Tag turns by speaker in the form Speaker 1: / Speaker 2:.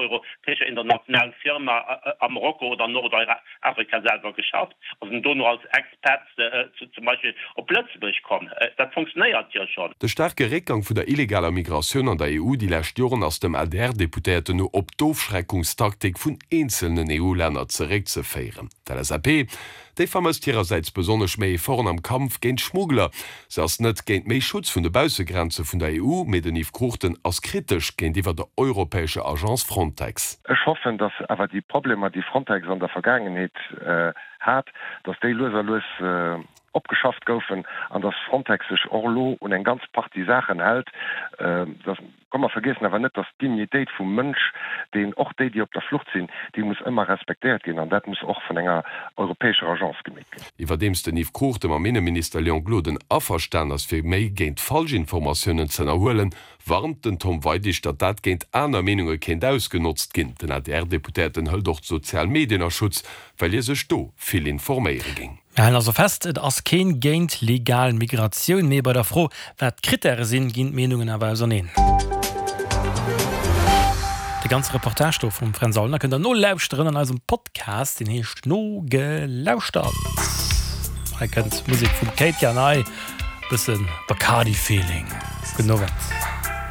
Speaker 1: europäescher internationaler Firma a Marokko oder Nordafrika selwer geschafft a sinn dono als Expats zum Beispill op Lëtzebuerg komm. Dat funktionéiert jo schonn.
Speaker 2: De staarke Réckgang vun der illegaler Migratioun an der EU déi lescht Joren ass dem ADR-Deputéierten no op d'Ofschreckungstaktik vun eenzelnen EU-Länner zeréckzeféieren. D'LSAP, déi vermësst hirersäits besonnesch méi Efforten am Kampf géint d'Schmuggler. Se ass net géint méi Schutz vun de Baussegrenze vun der EU, mee den Yves Cruchten ass kritesch géintiwwer der europäescher Agence Frontex.
Speaker 3: Ech hoffen, datt awer déi Problemer, déi Frontex an der Vergaangenheet hat, datt déi lues a lues opgeschafft goufen an datt Frontex sech och elo un eng ganz Partie Saachen hält. Komm, mer vergiessen awer net, datt d'Dignitéit vum Mënsch, deen, och déi, déi op der Flucht sinn, déi muss ëmmer respektéiert ginn an dat muss och vun enger europäescher Agence gemeet ginn.
Speaker 2: Iwwerdeems den Yves Cruchten mam Inneminister Léon Gloden averstan ass, fir méi géint Falschinformatiounen ze ënnerhuelen, warnt den Tom Weidig, datt dat géint aner Meenunge kéint ausgenotzt ginn. Den ADR-Deputéierten hëlt och d'sozial Medien a Schutz, well hie sech do vill informéiere géing.
Speaker 4: Mir halen also fest, et ass keen géint legal Migratioun, mee bei der Fro, wat d'Krittäre sinn, ginn d'Meenungen awer auserneen. De ganze Reportage do vum Fränz Aulner kënnt der nolauschteren an eisem Podcast, deen heescht Nogelauschtert. Hei kënnt d'Musek vum Kate Yanai, bësse Bacardi-Feeling. Gudden Owend.